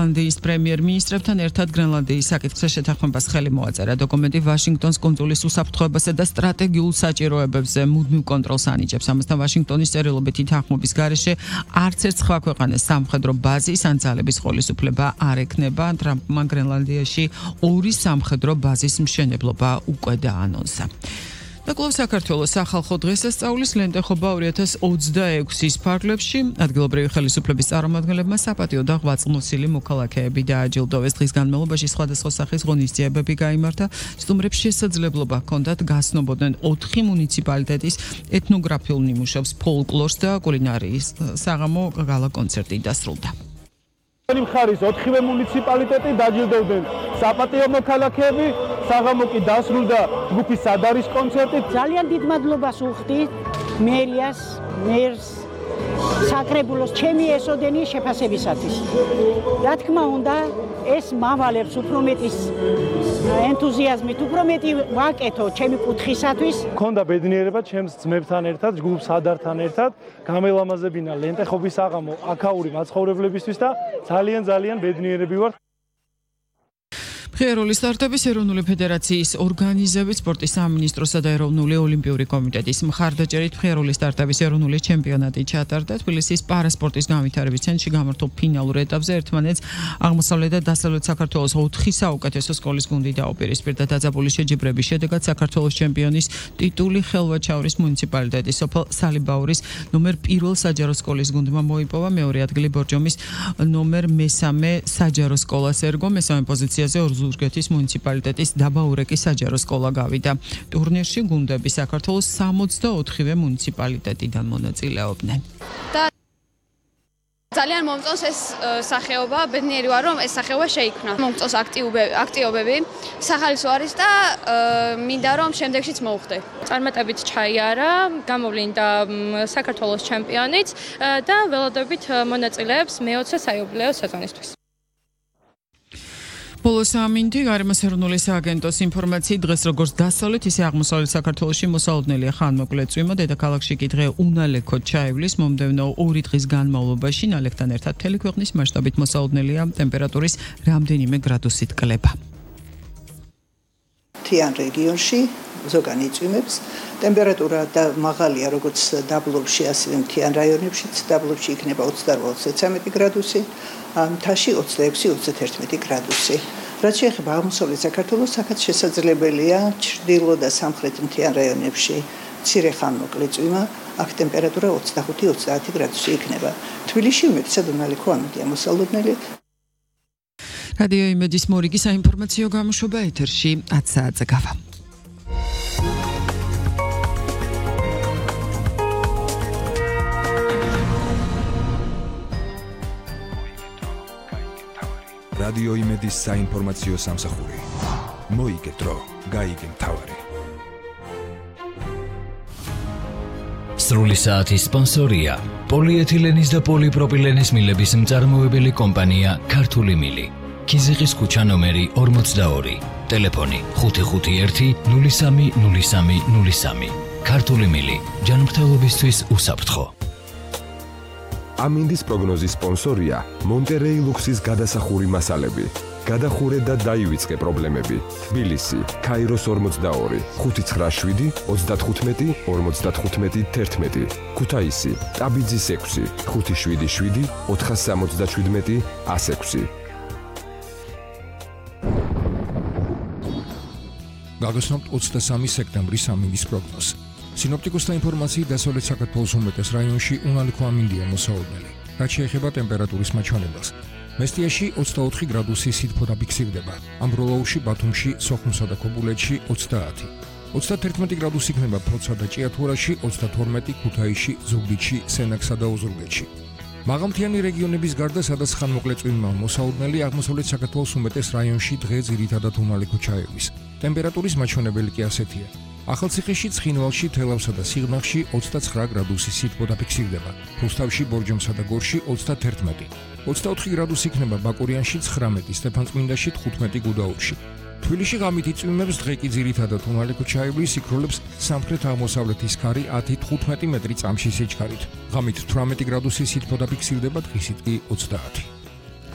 გრენლანდიის პრემიერ-მინისტრებთან ერთად გრენლანდიის საკითხზე შეთანხმებას ხელი მოაწერა. დოკუმენტი ვაშინგტონის კუნძულის უსაფრთხოებასა და სტრატეგიულ საჭიროებებზე მუდმივ კონტროლს ანიჭებს. ამასთან ვაშინგტონის წერილობითი თანხმობის გარეშე არც ერთ სხვა ქვეყანას სამხედრო ბაზის ან ძალების ხელისუფლება არ ექნება. ტრამპმა გრენლანდიაში 2 სამხედრო ბაზის მშენებლობა უკვე დაანონსა. და კვლავ საქართველოს სახალხო დღესასწაულის ლენტეხობა 2026-ის ფარგლებში ადგილობრივი ხელისუფლების წარმომადგენლებმა საპატიო და ღვაწლმოსილი მოქალაქეები დააჯილდოვეს. დღის განმავლობაში სხვადასხვა სახის ღონისძიებები გაიმართა. სტუმრებს შესაძლებლობა ჰქონდათ გასნობოდნენ 4 მუნიციპალიტეტის ეთნოგრაფიულ ნიმუშებს, ფოლკლორს და კულინარიის საღამო გალა კონცერტი დასრულდა. მხარის 4-ვე მუნიციპალიტეტი დაჯილდოვდნენ საპატიო მოქალაქეები, საღამო კი დასრულდა ჯგუფის სადარის კონცერტით. ძალიან დიდ მადლობას ვუხდით მერიას, მერს, საკრებულოს ჩემი ესოდენი შეფასებისათვის. რა თქმა უნდა, ეს მავალებს უფრო მეტის ენთუზიაზმით, უფრო მეტი ვაკეთო ჩემი კუთხისათვის. მქონდა ბედნიერება ჩემს ძმებთან ერთად, ჯგუფ სადართან ერთად გამელამაზებინა ლენტეხობის საღამო აქაური მაცხოვრებლებისთვის და ძალიან ბედნიერები ვარ. ღია სტარტების ეროვნული ფედერაციის ორგანიზებით სპორტის სამინისტროსა და ეროვნული ოლიმპიური კომიტეტის მხარდაჭერით ღია სტარტების ეროვნული ჩემპიონატი ჩატარდა. თბილისის პარასპორტის განვითარების ცენტრში გამართულ ფინალურ ეტაპზე ერთმანეთს აღმოსავლეთ და დასავლეთ საქართველოს 4 საუკეთესო სკოლის გუნდი დაუპირისპირდა. დაძაბული შეჯიბრების შედეგად საქართველოს ჩემპიონის ტიტული ხელვაჩაურის მუნიციპალიტეტის სოფელ სალიბაურის ნომერ 1 საჯარო სკოლის გუნდმა მოიპოვა. მეორე ადგილი ბორჯომის ნომერ 3 საჯარო სკოლას ერგო. მესამე პოზიციაზე ზურგეთის მუნიციპალიტეტის დაბაურეკის საჯარო სკოლა გავიდა. ტურნირში გუნდები საქართველოს 64-ვე მუნიციპალიტეტიდან მონაწილეობდნენ. ძალიან მომწონს ეს სახეობა, ბედნიერი ვარ რომ ეს სახეობა შეიქმნა. მომწონს აქტიობები, სახალისო არის და მინდა რომ შემდეგშიც მოვხდე. წარმატებით ჩაიარა, გამოვლინდა საქართველოს ჩემპიონიც და ველოდებით მონაწილეებს მე-20 საიუბილეო სეზონისთვის. ბოლო სამინდი გარემოს ეროვნული სააგენტოს ინფორმაციით დღეს როგორც დასავლეთ ისე აღმოსავლეთ საქართველოში მოსალოდნელია ხანმოკლე წვიმა. დედაქალაქში კი დღე უნალექოდ ჩაივლის. მომდევნო 2 დღის განმავლობაში ნალექთან ერთად მთელი ქვეყნის მასშტაბით მოსალოდნელია ტემპერატურის რამდენიმე გრადუსით კლება. მთიან რეგიონში ზოგანი წვიმებს. ტემპერატურა და მაღალია როგორც დაბლობში, ასევე მთიან რაიონებშიც. დაბლობში იქნება 28-33 გრადუსი, მთაში 26-31 გრადუსი. რაც შეეხება აღმოსავლეთ საქართველოს, აქაც შესაძლებელია ჩრდილო და სამხრეთ მთიან რაიონებში მცირე ხანმოკლე წვიმა. აქ ტემპერატურა 25-30 გრადუსი იქნება. თბილისში უმეტესად უნალექო ამოდია მოსალოდნელი. რადიო იმედის მორიგი საინფორმაციო გამოშვება ეთერში 10 საათზე გავა. რადიო იმედის საინფორმაციო სამსახური. მოიგე დრო, გაიგე მთავარი. სრული საათის სპონსორია პოლიეთილენის და პოლიპროპილენის მილების მწარმოებელი კომპანია ქართული მილი. ქიზიყის ქუჩა ნომერი 42, ტელეფონი 551 03 03 03. ქართული მილი, ჯანმრთელობისთვის უსაფრთხო. ამინდის პროგნოზის სპონსორია მონტერეი ლუქსის გადასახური მასალები. გადახურე და დაივიწყე პრობლემები. თბილისი, ქაიროს 42, 597 35 55 11. ქუთაისი, ტაბიძის 6, 577 477 106. გაგაცნობთ 23 სექტემბრის ამინდის პროგნოზი. სინოპტიკოსთა ინფორმაციით დასავლეთ საქართველოს უმეტეს რაიონში უნალექო ამინდია მოსალოდნელი. რაც შეეხება ტემპერატურის მაჩვენებას. მესტიაში 24 გრადუსი სითბო დაფიქსირდება. ამბროლაურში, ბათუმში, სოხუმსა და ქობულეთში 30. 31 გრადუსი იქნება ფოთსა და ჭიათურაში, 32 ქუთაისში, ზუგდიდში, სენაკსა და ოზურგეთში. მაღალმთიანი რეგიონების გარდა, სადაც ხანმოკლე წვიმა მოსალოდნელი, აღმოსავლეთ საქართველოს უმეტეს რაიონში დღე ძირითადად უნალექო ჩაივლის. ტემპერატურის მაჩვენებელი კი ასეთია. ახალციხეში, ცხინვალში, თელავსა და სიღნაღში 29 გრადუსი სითბო დაფიქსირდება. რუსთავში, ბორჯომსა და გორში 31. 24 გრადუსი იქნება ბაკურიანში, 19, სტეფანწმინდაში, 15 გუდაურში. თბილისში ღამითი წვიმებს დღე კი ძირითადად უნალექო ჩაივლის, იქროლებს სამხრეთ-აღმოსავლეთის ქარი 10-15 მეტრი წამში სიჩქარით. ღამით 18 გრადუსი სითბო დაფიქსირდება, დღისით კი 30.